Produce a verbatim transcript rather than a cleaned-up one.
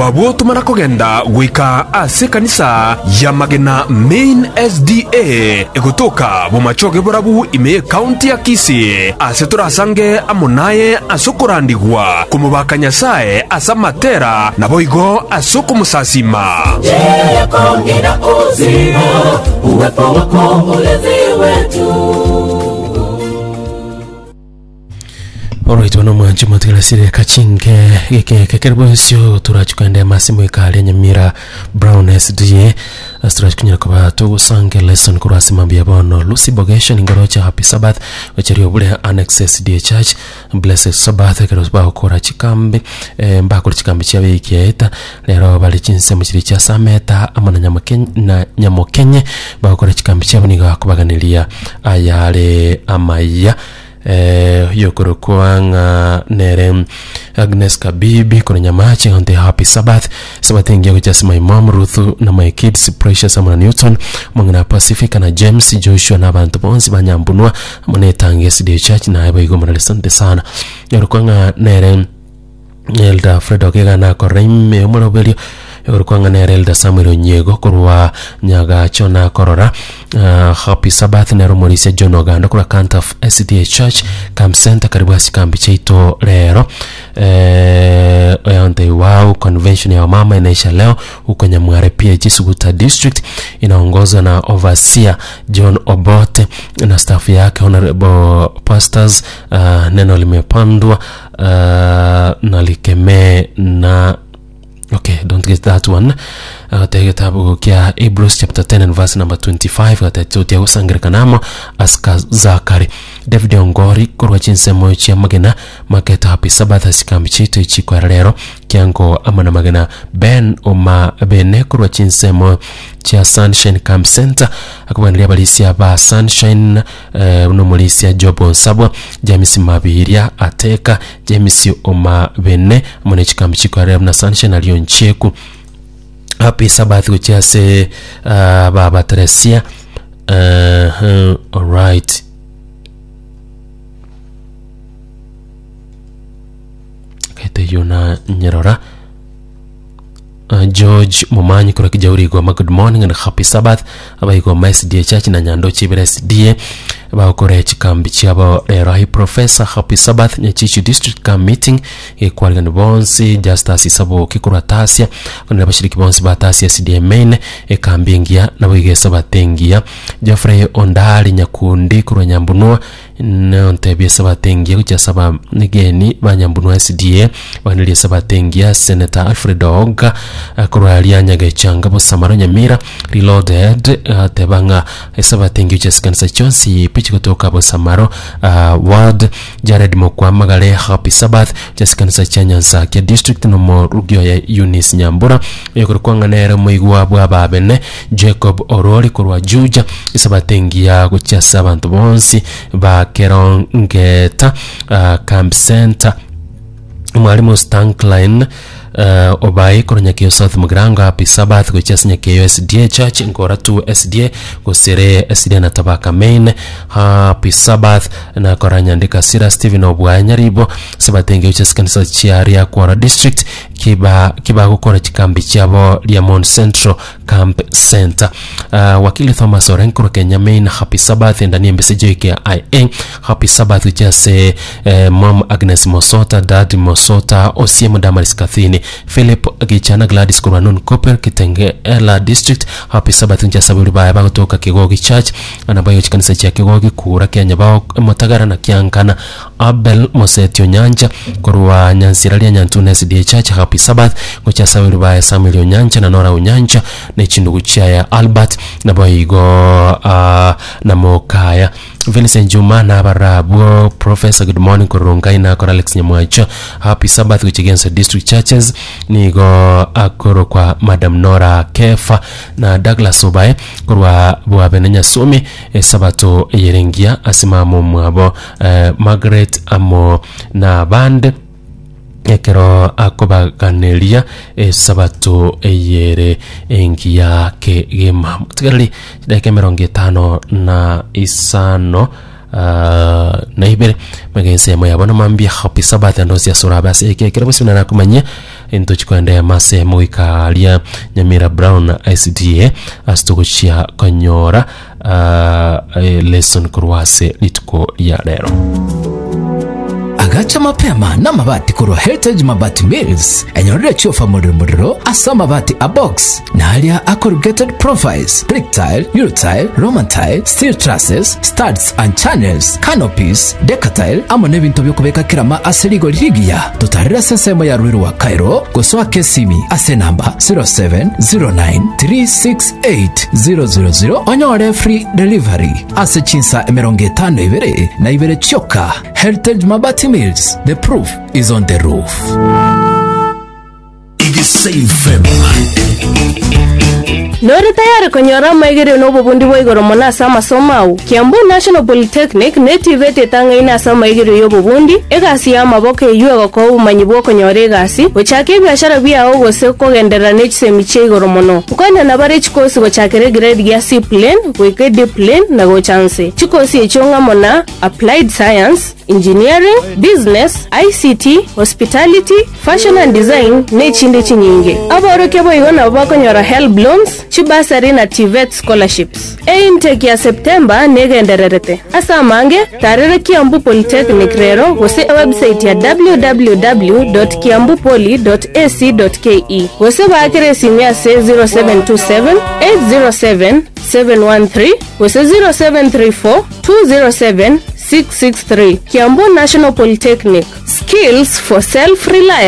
Abwo tomana kogenda goika ase ekanisa ya Magena Main S D A egotoka Bomachoge Borabu ime y'ekaunti ya Kisii, ase torasange amo naye ase okorandigwa komobaka Nyasaye ase amatera naboigo ase okomosasima. Njia yako ina uzima, uwepo wako ulinzi wetu. Alright, bono mwanchi motigarasire kachinke geke kekere bwensio turachi kwenda masimu ikali Nyamira Brown S D A ase turachi kunyara kuba tugusange lesson korwa ase mambia bono. Lucy Bogesha ningorocha, happy Sabbath gocheria obure Annex S D A Church, blessed Sabbath ekero bagokora chikambi, eh, mbakora chikambi chia wiki yaeta rero bari chinsemo chiri chia Sameta amo na Nyamokenye, na Nyamokenye bagokora chikambi chiabo. Nigo akobaganiria ayare amaya, eh, yokorokwa ng'a nere Agnes Kabibi kore Nyamache onte, happy Sabbath, Sabbath ingia gochasi my mom Ruth na my kids Precious amo na Newton, Mong'ina Pacifica na James Joshua na abantu bonsi banyambunwa amo netange S D A Church naye baigo morale, asante sana. Yorokwa ng'a nere Elder Fred Ogega nakorora ime omoroberio. Yorokwa ng'a nere Elder Samuel Onyego korwa Nyagacho nakorora, uh, happy Sabbath. Nero Morisia John Oganda korwa Cantaf S D A Church Camp Center, karibu ase kambi chaito rero. eh, oyonte wow, convention ya wamama inaisha leo huko Nyamware P A G Suguta District, inaongozwa na Overseer John Obote na staff yake, honorable pastors. uh, neno limepandwa uh, na likemee na okay, don't get that one. Agate gitabu kia Hebrews chapter ten and verse number twenty-five gatetutia gusangirekanamo aska Zakari David Ongori korwa chinsemo chia Magena Market, happy Sabbath asikambi chitu ichikwera rero kiango ama na Magena. Ben Oma Bene korwa chinsemo chia Sunshine Camp Center akubaniria abarisia ba Sunshine, eh, nomorisia Job Onsabwa, James Mabiria Ateka, James Oma Bene amo ne chikambi chikwera na Sunshine alio nchieku. Happy Sabbath gochia ase uh, baba Teresia. uh, alright, kete yona nyerora. Uh, George Momanyi korwa Kijauri Igoma, good morning and happy Sabbath. Abaigoma S D A Church na Nyando Chibere S D A bagokora chikambi chiabo rero. Hi Professor, happy Sabbath. Nyachichu District Camp Meeting gekwarigani bonsi. Justus Isaboki korwa Tasia konera abashiriki bonsi ba Tasia S D A Main, ekambi engiya nabo igesabato engiya. Geoffrey Ondari Nyakundi korwa Nyambunua nontebia esabato engiya gochia nigeni ba Nyambunua S D A baganirie esabato engiya. Senator Alfred Oga eh, korwa ria Nyagechanga Bosamaro Nyamira Reloaded ateba ng'a esabato engiya gochia sikanisa chionsi pichi kutoka Bosamaro uh, ward. Jared Mokwamagare, happy Sabbath gochia sikanisa chia Nyansakia District nomo rugio ya Eunice Nyambura yokorokwa ng'a nere moigwa bwa babene. Jacob Orori korwa Juja, esabato engiya gochia ase abanto bonsi ba Kerongeta uh, Camp Center. Mwalimu Stankline uh, obai korwa Nyakeyo South Mugirango, happy Sabbath gochia ase Nyakeyo S D A Church, Nkora two S D A gosere S D A na Tabaka Main, happy Sabbath. Nakora nyandika Sira Stephen Obwaya Nyaribo, sabato engiya gochia ase kanisa chia Riakwara District kiba kibagokora chikambi chiabo Riamon Central Camp Center. uh, wakili Thomas Orenko Kenya Main, happy Sabbath. Ndani embese joike ia happy Sabbath gochia eh, mom Agnes Mosota, dad Mosota, Osiemo, Damaris Kathini, Philip Gichana, Gladys Kurwanun Koper Kitenge Ela District, happy Sabbath nja saburi baya bagotoka Kigogi Church anabayo chikanisa chia Kigogi kura Kenya bao Motagara na Kiankana. Abel Mosetio Nyanja korwa Nyansira ria Nyantune S D A Church, happy Sabbath gochia saburi baya Samuel Onyancha na Nora Onyancha na chindugu chia Albert naboigo uh, na Mokaya Vincent Juma na abarabwo. Professor, good morning korungai na kora Alex Nyamwacho, happy Sabbath gochigensa district churches nigo akoro kwa Madam Nora Kefa na Douglas Obae korwa bwabe na Nyasumi, esabato yerengia asimamo mwabo, eh, Margaret amo na bande ekero akobaganeria esabato eyere engiya kegema. Tigarari chidakika emerongo etano na isano. uh, na ibere magensemo yabo namambia. Happy Sabbath andosi asura basi eke kera bose nakumanyia into chikwende mase moikaria Nyamira Brown S D A asitugochia konyora uh, lesson korwase lituko ya lero. Agacha mapema na mabati korwa Heritage Mabati Mills. Enyorere chiofa muriro muriro ase amabati a box naria a corrugated profiles, brick tile, eurotile, Roman tile, steel trusses, studs and channels, canopies, decatile amo n'ebinto byokubeka kirama ase rigori rigiya. Totarire ase ensemo ya Rwiru wa Cairo gosoa kesimi ase namba zero seven zero nine three six eight zero zero zero onyore free delivery ase chinsa emerongo etano ibere na ibere chioka. Heritage Mabati Mills, the proof is on the roof. F M. Nori tayari konyora amaigerio na obobundi bwa igoro mono ase amasomo ao? Kiambu National Polytechnic netivete etang'aine ase amaigerio ya obobundi egasi ya amaboko eywo egokoa obomanyi bwa okonyora egasi gochaka ebiashara biago gose kogenderera na echisemi chia igoro mono. Nkoenana bare chikosi gochakera egrade gia C plain goika D plain na gocha nse. Chikosi echio ng'amo na applied science, engineering, business, I C T, hospitality, fashion and design na echinde chinyinge. Aborokia boigo nabo bakonyora HELB loans, chibasari na TVET scholarships. Eintake ya September negendererete. Ase amange tarere Kiambu Polytechnic rero gose website ya w w w kiambupoli ac ke gose bakere esimu ase zero seven two seven eight zero seven seven one three gose zero seven three four two zero seven six six three. Kiambu National Polytechnic, skills for self-reliance.